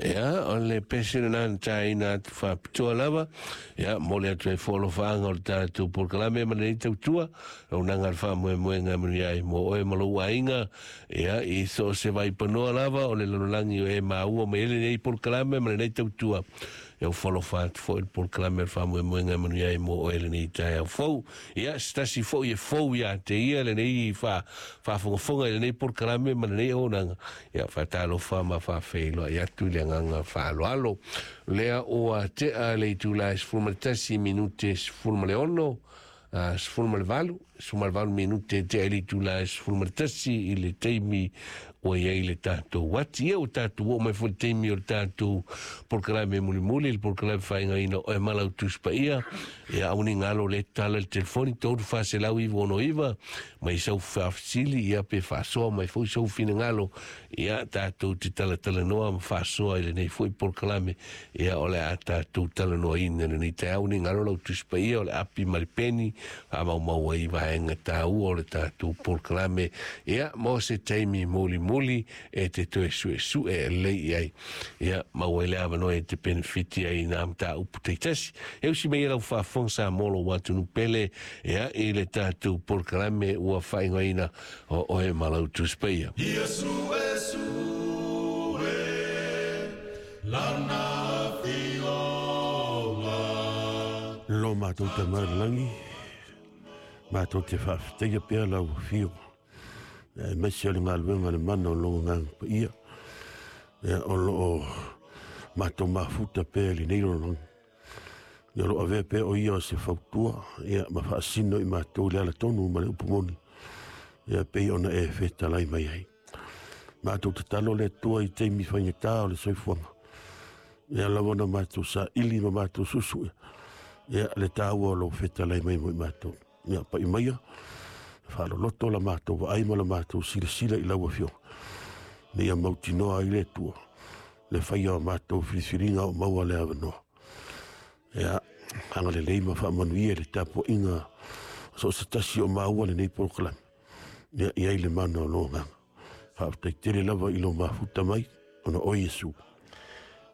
Ia, o le pese lena na taina atu faapitoa lava. Ia, momoli atu ai foi alofaaga o le tatou polokalame ma lenei tautua. Auaunaga a le faamoemoega e manuia ai mo oe ma lou aiga. Ia, i so o se vaipanoa lava o le lalolagi o e maua mai ai lenei polokalame ma lenei tautua. Ia, ua falofa atu foi le polokalame o le faamoemoega e manuia ai mo oe lenei taeao fou. Ia, se tasi foi e fou ia te ia lenei faafogafoga i lenei polokalame ma lenei auaunaga. Ia, faatalofa ma faafeiloai atu i le agaga faaaloalo. Lea ua tea le itula e 11 minute 16, 18, 18 minute tea i le itula e 11 i le taimi ua i ai le tatou ati. Ia, ua tatou oo mai foi i le taimi o le tatou polokalame mulimuli, le polokalame faaigaina o oe ma lau Tusi Paia. Ia, aua ne i galo le tala i le telefoni 3469 mai sau faafesili, ia pe faasoa mai foi sou finagalo. Ia, tatou te talatalanoa ma faasoa i lenei foi polokalame. Ia, o le a tatou talanoaina i lenei taeao. Ne i galo lau Tusi Paia o le api ma le peni, faamaumau ai vaega taua o le tatou polokalame. Ia, mo se taimi mulimuli e te toe suesue lelei i ai. Ia, maua ai le avanoa e te penefiti ai i nā mataupu taitasi. E usi mai ai lau faafofoga Samoa lou atunuu pele, ia, i le tatou polokalame ua faaigoaina o oe ma lau Tusi Paia. Ia suesue lana afioga. Lo matou Tama i le lagi, matou te faafetaia pea lau afio, aemaise o le galuega a le mana o lou Agaga Paia, ia, o lo o matou mafuta pea i lenei lalolagi. Ia, o lo o avea pea o ia o se fautua, ia, ma faasino i matou i le ala tonu ma le upu moni, ia, pei ona e fetalai mai ai. Matou tatalo le Atua i taimi faigata o le soifuaga, ia lava ona matou saili ma matou suesue, ia, le taua o lou fetalai mai mo i matou. Ia, pai maia, faaloloto la matou vaai ma la matou silasila i lau Afioga, ina ia mautinoa ai le Atua le faia o matou filifiliga o maua le avanoa. Ia, agalelei ma faamanuia i le tapuaiga o so o se tasi o maua lenei polokalame. Ia, i ai le mana o lou Agaga. Faafetai tele lava i lou mafuta mai, ona o Iesu.